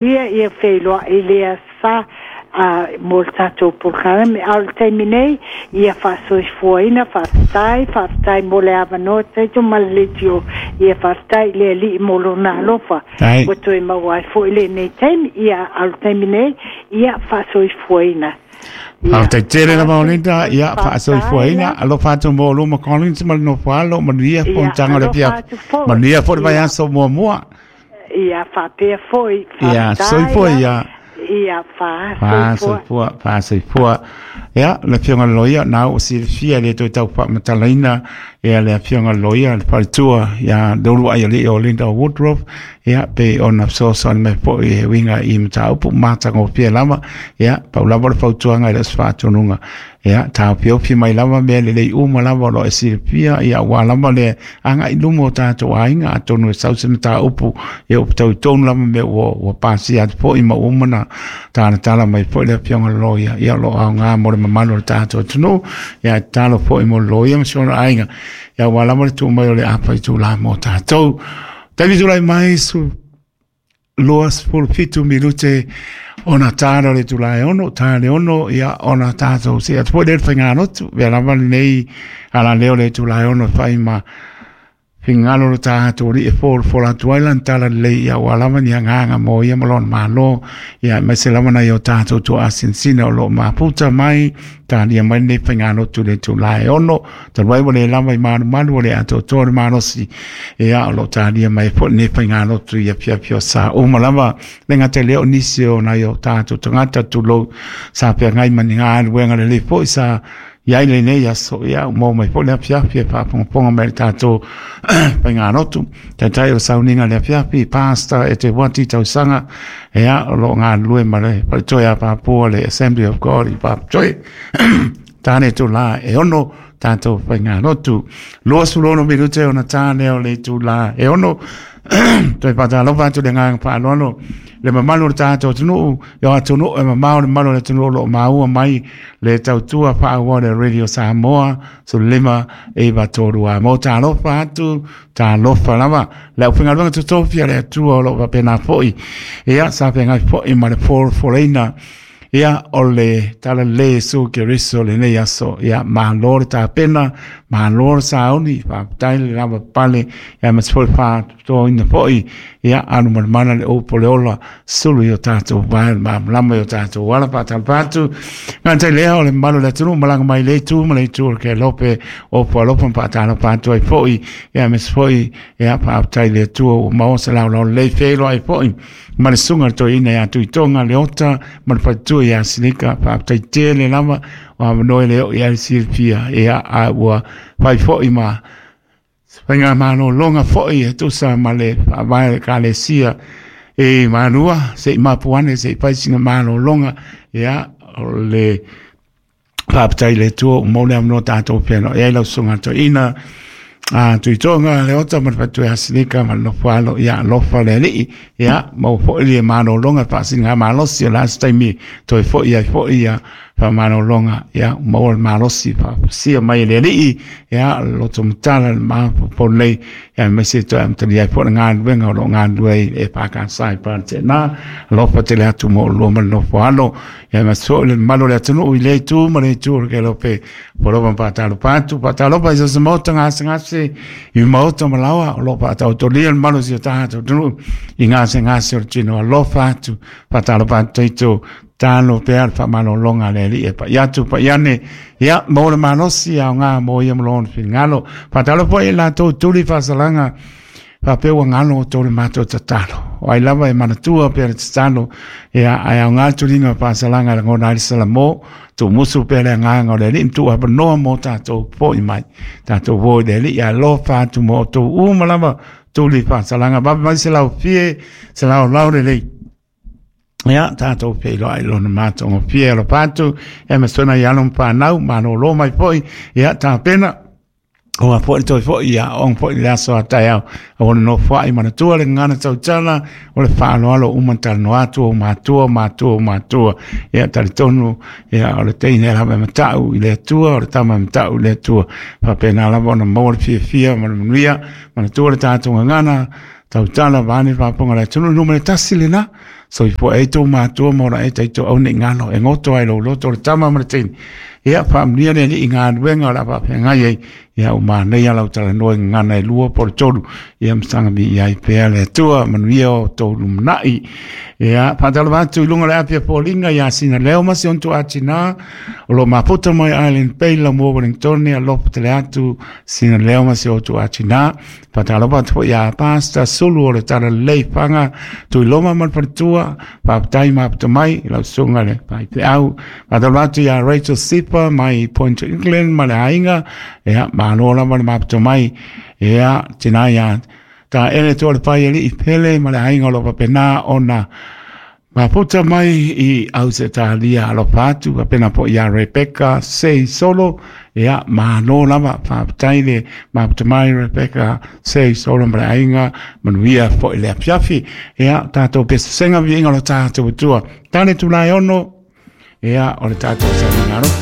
Ia feiloai lea sa mo le tatou polokalame. A o le taimi nei, ia faasoifuaina, faafetai, faafetai mo le avanoa taito ma le leitio. Ia faafetai i le Alii mo lona alofa. Ua toe maua ai foi lenei taimi. Ia, a o le taimi nei, ia faasoifuaina. Faafetai tele lava o Linda, ia faasoifuaina, alofa atu mo luma Collins ma le nofo alo, manuia fonotaga o le afiafi. Manuia foi le vaiaso muamua. Ia faapea foi, Ia faafetai. Soifua ia. Ia faasoifua. Faasoifua, faasoifua. Ia, le afioga i le loia, na ua silafia le toe tau faamatalaina ia le afioga i le loia, le faletua, ia le uluai alii o Linda Woodruff, ia pei ona fesoasoani mai foi e uiga i mataupu matagofie lava. Ia, pau lava le fautuaga i le aso faatonuga. Ia, taofiofi mai lava mea lelei uma lava o lo o e silafia, ia aua lava le agai i luma o tatou aiga, atonu e sau se mataupu, ia ua fetaui tonu lava mea ua pasia atu foi ma ua uma ona talatala mai foi le afioga i le loia, ia o lo o aoga mo le mamalu o le tatou atunuu. Ia, e tatalo foi mo le loia ma si ona aiga, ia aua lava le tuu mai o le afa itula mo tatou. Taimi tulai mai su 27 minute ona tāra o le itula e 6, tā le 6, ia ona tātou see atu foi lea i le faigalotu. Mea lava lenei alaleo le itula e 6 e fai ma finagalo o le tatou Alii e folafola atu ai lana tala lelei, ia aua lava ni agaga mo ia ma lona Malo, ia aemaise lava nai o tatou tuaasinasina o lo o mafuta mai talia mai lenei faigalotu i le itula e 6. Talu ai ua le lava i malumalu o le atoatoa o le malosi, ia o lo o talia mai foi lenei faigalotu i afiafi o sa uma lava. Le gata i lea o nisi o nai o tatou tagata tulou sa feagai ma ni galuega lelei foi sa i ai lenei aso, ia ua maua mai foi le afiafi e faafogafoga mai i le tatou faigalotu. Taitai o le sauniga i le afiafi, Pastor e te wati tausaga, ia o lo o galulue ma le faletoe a Papua le Assembly of God i Papatoe. Tāne itulā e 6 tātou faigalotu. 26 minute ona tāne o le itulā e 6. Toe whātālofa atu le agaga faaaloalo le mamalu o le tatou atunuu, ia atunuu e mamao le mamalu o le atunuu o lo o maua mai le tautua faaauau le Radio Samoa 15 9 3 a. Mo talofa atu, talofa lava. Le aufaigaluega totofi a le Atua o lo o faapena foi. Ia, sa feagai foi ma le folafoleina ia o le talalelei Iesu Keriso lenei aso. Ia malo le tapena, malo le sauni, faafetai le lava pale, ia ma se foi faatotoina foi, ia alu malamala le upu o le ola, sulu i o tatou vae, le malamalama i o tatou ala faatalofa atu. Gata i lea o le mamalu o le atunuu malaga mai le itu ma le itu o le kelope o Pualofa ma faatalofa atu ai foi, ia ma se foi, ia faafetai i le Atua ua maua se laolao lelei feiloai foi ma le susuga i le toeaina ia Tuitoga Leota ma le faletua ia Silika. Faafetai tele lava o avanoa e le oo i ai le silafia, ia a ua fai foi ma faigamalologa foi e tusa ma le faavae o le Ekalesia e Malua, se i mapu ane se i fai sina malologa, ia o le faafetai i le Atua ua maua le avanoa tatou feiloai ai lau susuga i le toeaina a Tuitoga Leota ma le faletua ia Silika ma le nofo alo, ia alofa le Alii, ia maua foi le malologa faasiligamalosi o le a se taimi toe foi ai foi ia faamalologa, ia maua le malosi faafusia mai e le Alii, ia loto matala le mafaufau lelei, ia aemaise toe amatalia ai foi le galuega o lo o galulue ai e EFKS i Paratena. Alofa tele atu mo oulua ma le nofo alo, ia aemaise foi le mamalu o le atunuu i lea itu ma le itu o le Kelope. Ua lava faatalofa atu, faatalofa i so o se maota gasegase i maota ma laoa o lo o faataotolia le mamalu o si o tatou atunuu i gasegase o le tino. Alofa atu, faatalofa atu taito, talo pea le faamalologa a le Alii e pai atu, pai ane, ia maua le malosi aoga mo ia ma lona finagalo. Faatalofa foi i latou tuli faasalaga faapea ua galo outou le matou tatalo. O ai lava e manatua pea le tatalo, ia ae aoga le tuliga o faasalaga e lagona ai le salamo, tuumusu pea le agaga o le Alii ma tuuavanoa mo tatou foi mai. Tatou o i le Alii, alofa atu mo outou uma lava tuli faasalaga. Vave mai se laufie, se laolao lelei. Ia, tatou feiloai lona matagofie alofa atu, ia ma sona i alo ma whanau, malōlō mai foi, ia tapena, Ua foi toe foi ia aoga foi i le aso a taeao. Aua le nofoai manatua le gagana tautala o le faaaloalo uma talanoa atu o matua, matua, matua. Ia talitonu, ia o le teine lava e matau i le Atua, o le tama e matau i le Atua. Faapena lava ona maua le fiafia ma le manuia. Manatua le tatou gagana tautala vaeane le faafofoga a le atunuu. Numera 1 lena. Soifua ai tou matua ma ona e taito au nei ngalo e goto ai lou loto o le tama ma le teine. Ia faamanuia le Alii i galuega o le a faafeagai ai. Ia ua manaia lau talanoa i gagana e 2 po o le 3. Ia masaga viia ai pea le Atua, manuia o outou lumanai. Ia faatalofa atu i luga o le api a foliga ia Sina Leo ma si ona tuuatinā o lo o mafuta mai Island Bay Lamua Wellingtone, alofa tele atu Sina Leo ma si o tuuatinā. Faatalofa atu foi ia Pastor Sulu o le Talalelei Faga Tuiloma ma le faletua, faafetai mafuta mai i lau susuga le faifeau. Faatalofa atu ia Rachel Sipa mai Point England ma le aiga, ia malo lava le mafuta mai. Ia tina ia ta ele toa le pai alii pele ma le aiga o lo o faapena ona mafuta mai i Ausetalia, alofa atu faapena foi ia Rebecca Sei Solo, ia malo lava, faafetai le mafuta mai Rebecca Sei Solo ma le aiga, manuia foi le afiafi. Ia tatou pesesega viiga o lo tatou Atua. Tane tulae ono, ia o le tatou sauniga alofa.